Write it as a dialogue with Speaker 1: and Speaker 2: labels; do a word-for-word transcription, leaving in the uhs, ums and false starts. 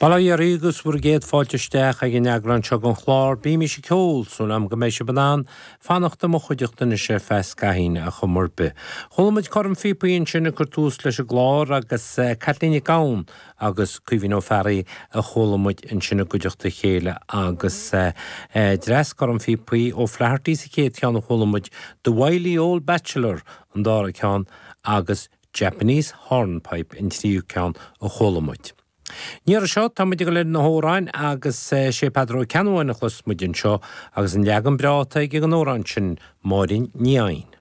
Speaker 1: Bail ó Dhia oraibh agus bhur gcéad fáilte isteach ag an eagrán seo den chlár Bímis ag Ceol, súil agam go mbeidh sibh in ann fanacht i mo chuideachta anois ar feadh scaithín ar chuma ar bith. Chuala muid coirm phíopaí ansin ag cur tús leis an gclár agus Caitlín Nic Gabhann agus Caoimhín Ó Fearraigh a chuala muid ansin i gcuideachta a chéile agus dreas coirm phíopaí O'Flaherty sa chéad cheann a chuala muid The Wily Old Bachelor an dara ceann agus Japanese Hornpipe an tríú ceann a chuala muid. An iarraidh seo tá muid ag dul ar na hamhráin agus sé Peadar Ó Ceannabháin a chloisfidh muid anseo agus an leagan breá atá aige den amhrán sin Máirín Ní Eidhin.